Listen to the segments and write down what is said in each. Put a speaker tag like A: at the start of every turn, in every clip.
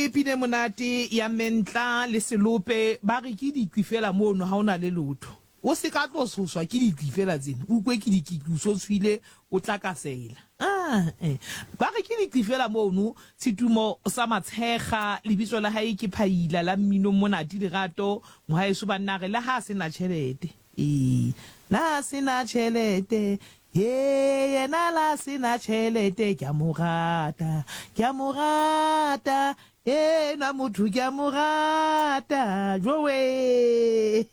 A: Ke pina e monate ya Mentla le Selope, ba re ke dikwi fela mono ha o na le lotho. O se ka tlo tshoswa ke dikwi fela tsena, o ukwe ke dikiki o so tshwile o tlakasela. Ae, ba re ke dikwi fela mono, Setumo sa Matshekga, lebitso la hae ke Phaila la mmino monate Lerato, mohaeso banna a re le ha a se na tjhelete. Ee, la se na tjhelete, Hee, yena la se na tjhelete, ke a mo rata, ke a mo rata, enwa motho ke a mo rata, jowe,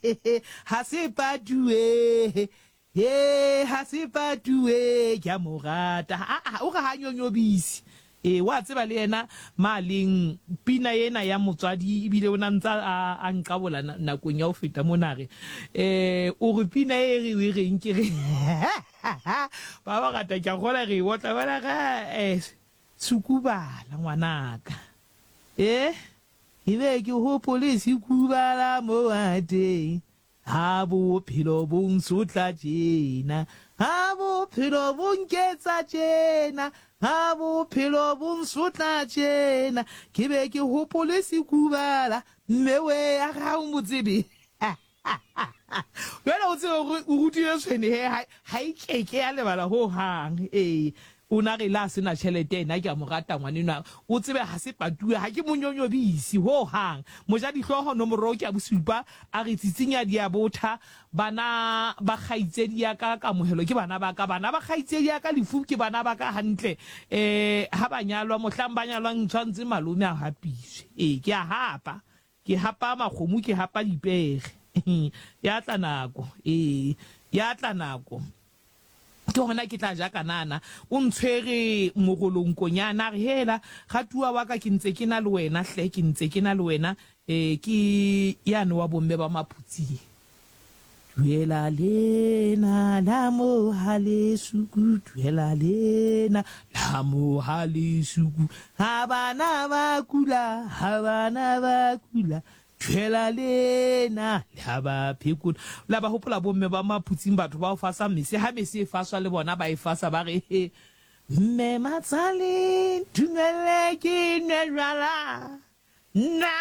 A: ha se patuwe, he, ha se patuwe, ke a mo rata. Aa, o re ha nyonyobise. Ee, wa tseba le yena ma leng pina ena ya motswadi ebile o na ntsa a, a nqabola nakong ya ho feta mona re eh o re pina e re e reng ke re ba bangata ke a kgola re e otla bana ga eh sukubala ngwanaka eh ke be ke hopole sekubala mo a teng Ha bophelo bo nsotla tjena, ha bophelo bo nketsa tjena, ha bophelo bo nsotla tjena, ke be ke hopole sekubala, mme we a ga o mo tsebe. Jwale o tsebe hore o rutile tshwene he ha e keke ya lebala ho hang. Ee, O na re le a se na tjhelete ena ke a mo rata ngwanenwa o tsebe ha se patuwe ha ke mo nyonyobise ho hang. Mojadihlooho nomoro ke ya bosupa a re tsitsinya di a botha bana ba kgaitsedi ya ka kamohelo ke bana ba ka bana ba kgaitsedi ya ka lefu ke bana ba ka hantle eh ha ba nyalwa mohlang ba nyalwang tshwantse malome a hapiswe ee ke a hapa ke hapa makgomo ke hapa dipere ya tla nako ee ya tla nako Ke gona ke tla ja kanana. O ntshwere mogolong konyana, a re, Hela, ratuwa wa ka, ke ntse ke na le wena hle, ke ntse ke na le wena. E, ke yane wa bomme ba Maphutsing. Duela lena la mo ha lesuku, duela lena la mo ha lesuku. Ha bana ba kula, ha bana ba kula, Thwela lena le ha ba phekola. La ba hopola bomme ba Maphutsing batho ba ho fasa mese, ha mese e faswa le bona ba e fasa ba re he Mme Matsale ntumelle ke nwe jwala nna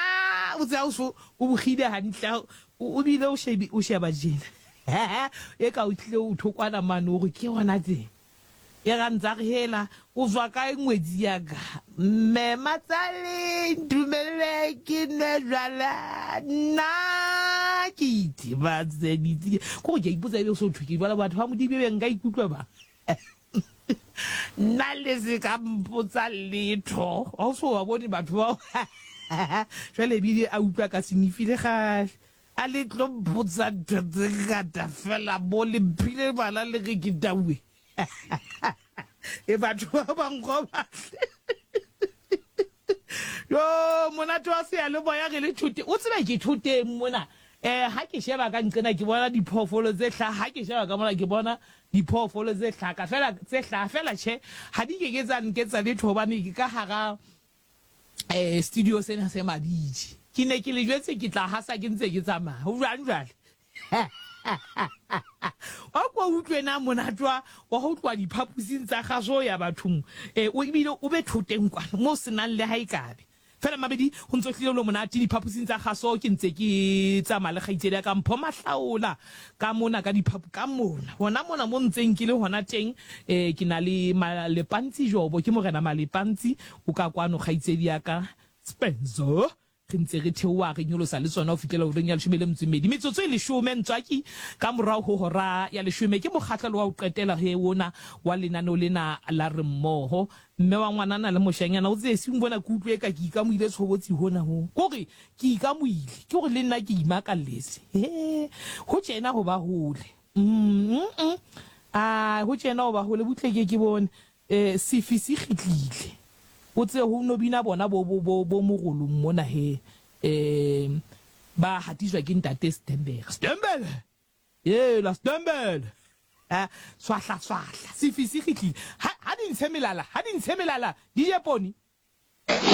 A: o tse o so o bogile hantle o bile o shebi o sheba jena e ka o tlile o thokwana mane o re ke hona teng E ra ntsa re hela o zwa kae ngwetsi ya ka Mme Matsale ntumelle ke nwe jwala nna ke itebatse ditsi ko ke ipotsa ebe so thwe ke jwala batho ba Modimo ebe nka ikutlwa ba nna le se ka mpotsa letho ha o so ba bone batho bao jwale ebile a utlwa ka senifile gale A le tlo mpotsa ntho tse ngata fela mo le mphile bana le ge ke taue. E batho ba bankgobahle. Yo monate wa seyalemoya re le thote. O tsebe ke thoteng mona. Eh ha ke sheba ka nqena ke bona diphoofolo tse hlaha, ha ke sheba ka mona ke bona diphoofolo tse hlaka fela tse hlaha fela tjhe ha di ke ke tsa nketsa letho hobane ke ka hara eh studio sena se mabitje ke ne ke le jwetse ke tla hasa ke ntse ke tsamaya ho jwang jwale wa kwa utlwe na monate wa wa ho tloha diphaposing tsa kgaso ya bathong eh o ebile o be thoteng kwana mo senang le ha e kabe fela mabedi ho ntso hlile lo monate diphaposing tsa kgaso ke ntse ke tsamaya le kgaitsedi ya ka Mpho Mahlaola ka mona ka diphapo ka mona hona mona mo ntseng ke le hona teng eh ke na le Malepantsi Jobo ke morena Malepantsi O ka kwano, kgaitsedi ya ka Spencer. Re ntse re theoha re nyolosa le tsona ho fihlela horeng ya leshome le metso e mmedi. Metsotso e leshome, ntswaki, ka morao ho hora ya leshome. Ke mokgahlelo wa ho qetela he ona wa lenaneo lena la Re Mmoho. Mme wa ngwanana le moshanyana, o tsebe sing bona ke utlwe eka ke ikamohile tshobotsi hona ho. Ke hore ke ikamohile. Ke hore le nna ke imakalletse. He, ho tjena ho ba hole. Mm, mm, ah, ho tjena ho ba hole. Butle ke ke bone. E, sefi se kgitlile. O tsebe ho no bina bona bo, bo, bo, bo morolong mona he, e, ba hatiswa ke ntate Stembele. Stembele! Yela, Stembele! Ha, swahla, swahla. Sefi se kgitlile. Ha, ha di ntshe melala, ha di ntshe melala, di je poone.